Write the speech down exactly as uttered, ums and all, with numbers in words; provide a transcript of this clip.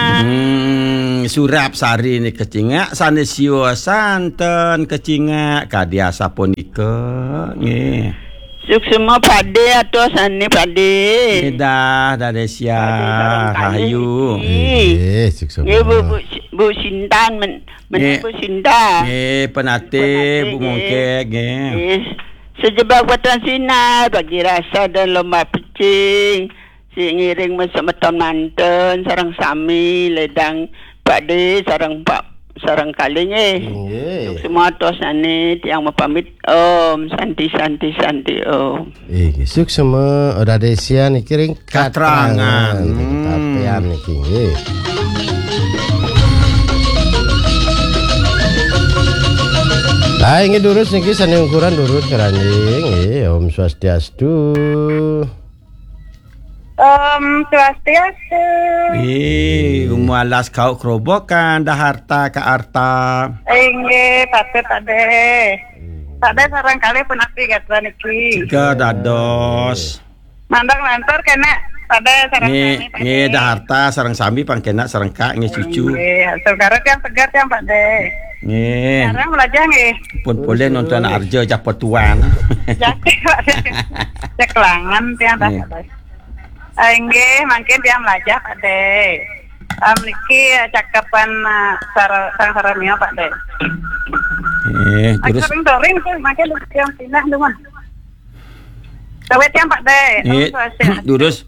Hmm, surap sari ni kecingak, sane siwa santen kecingak, kadi asapunika, nggih. Suksma Pakde, atos sane Pakde. Nggih dah, Dade Sia, Pakde sareng kalih Rahayu. Niki. Nggih, suksma. Nggih, Bu, Bu, Bu Sintan, men-, men-, Nggih. Bu Sinta. Nggih, penate, penate, Bu nggih. Mongkek, nggih. Nggih. Sejebak Batuan Sinar, bagi rasa dan lomba pecing. Si ngiring semeton manten, sareng sami, ledang Pakde, sareng Pak, sareng kalih, nggih. Nggih. Suksma atos sane, tiang mapamit. Om, Santi, Santi, Santi, Om. Inggih, suksma, Dade Sia niki ring katrangan. Katrangan. Hmm. Tapian niki, nggih. Lah, inggih durus niki sane ungkuran durus keranjing, nggih. Om Swastiastu. Om Swastiastu. Ih, umur alas kau kerobokan, dah harta ka arta. Inggih, Pakde, Pakde. Pakde sareng kalih punapi gatra niki. Juga dados. Mandang lantur kena Pakde sareng nggih, sami, Pakde. Nggih, dah harta sareng sami pangkena sareng kak, nggih, cucu. Nggih, saudara tiang segar tiang, Pakde. Nggih. Sareng melajah, nggih. Pun boleh nonton arja japotuan. Jati, Pakde. Ceklangan tiang dah, nggih. Pakde. Ah, inggih, mangkin tiang melajah, Pakde. Ah, niki, ah, cakepan, ah, sar-, sareng-sareng mio, Pakde. Eh, terus? Sering-sering tuh, mangkin tiang pindah, teman. Sawet tiang, Pakde. Eh, terus.